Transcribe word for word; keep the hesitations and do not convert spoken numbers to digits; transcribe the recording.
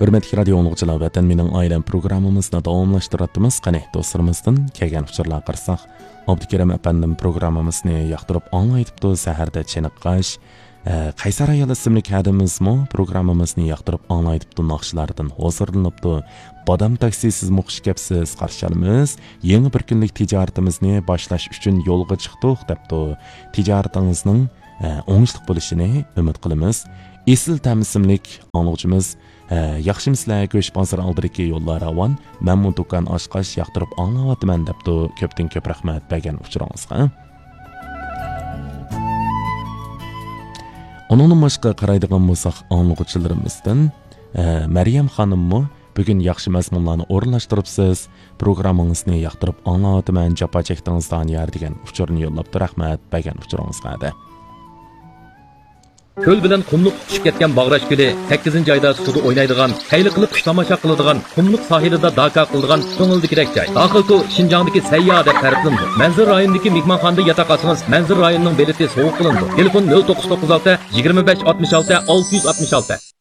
ھۆرمەتلىك رادىيو ئاڭلىغۇچىلار، ۋەتەن مېنىڭ ئائىلەم پروگراممىمىزنى داۋاملاشتۇرۇۋاتىمىز. قېنى، دوستلىرىمىزدىن كەلگەن ئۇچۇرلارغا قارىساق، ئابدۇكېرىم ئەپەندىم پروگراممىمىزنى ياقتۇرۇپ ئاڭلايتىپتۇ. سەھەردە چېنىققاچ، ئە، قەيسەر ئايال ئىسىملىك ھەدىمىزمۇ پروگراممىمىزنى ياقتۇرۇپ ئاڭلايتىپتۇ. ناخشىلاردىن ھۇزۇرلىنىپتۇ. بادام تاكسى، سىزمۇ خۇش كەپسىز، قارشى ئالىمىز. يېڭى بىر كۈنلۈك تىجارىتىمىزنى باشلاش ئۈچۈن يولغا چىقتۇق، دەپتۇ. تىجارىتىڭىزنىڭ، ئە، ئوڭۇشلۇق بولۇشىنى ئۈمىد قىلىمىز. ئېسىل تەم ئىسىملىك ئاڭلىغۇچىمىز، ئە، ياخشىمۇسىلەر؟ گۆش بازىرى ئالدىدىكى يوللار راۋان، مەنمۇ دۇكان ئاچقاچ ياقتۇرۇپ ئاڭلاۋاتىمەن، دەپتۇ. كۆپتىن كۆپ رەھمەت بەرگەن ئۇچۇرىڭىزغا. ئۇنىڭدىن باشقا قارايدىغان بولساق، ئاڭلىغۇچىلىرىمىزدىن، ئە، مەريەم خانىممۇ بۈگۈن ياخشى مەزمۇنلارنى ئورۇنلاشتۇرۇپسىز، پروگراممىڭىزنى ياقتۇرۇپ ئاڭلاۋاتىمەن، جاپا چەكتىڭىز دانىيار، دېگەن ئۇچۇرنى يوللاپتۇ. رەھمەت بەرگەن ئۇچۇرىڭىزغا دە. كۆل بىلەن قۇملۇق تۇتۇشۇپ كەتكەن باغراش كۆلى، سەككىزىنچى ئايدا سۇدا ئوينايدىغان، خەيلى قىلىپ قۇش تاماشا قىلىدىغان، قۇملۇق ساھىلىدا داكا قىلىدىغان كۆڭۈلدىكىدەك جاي. داخىلكو شىنجاڭدىكى سەيياھ دەپ تەرىپلىنىدۇ. مەنزىرە رايونىدىكى مېھمانخانىدا ياتاق ئالسىڭىز، مەنزىرە رايونىنىڭ بېلىتى سوۋغا قىلىنىدۇ. تېلېفون: نۆل توققۇز توققۇز ئالتە، يىگىرمە بەش ئاتمىش ئالتە، ئالتە يۈز ئاتمىش ئالتە.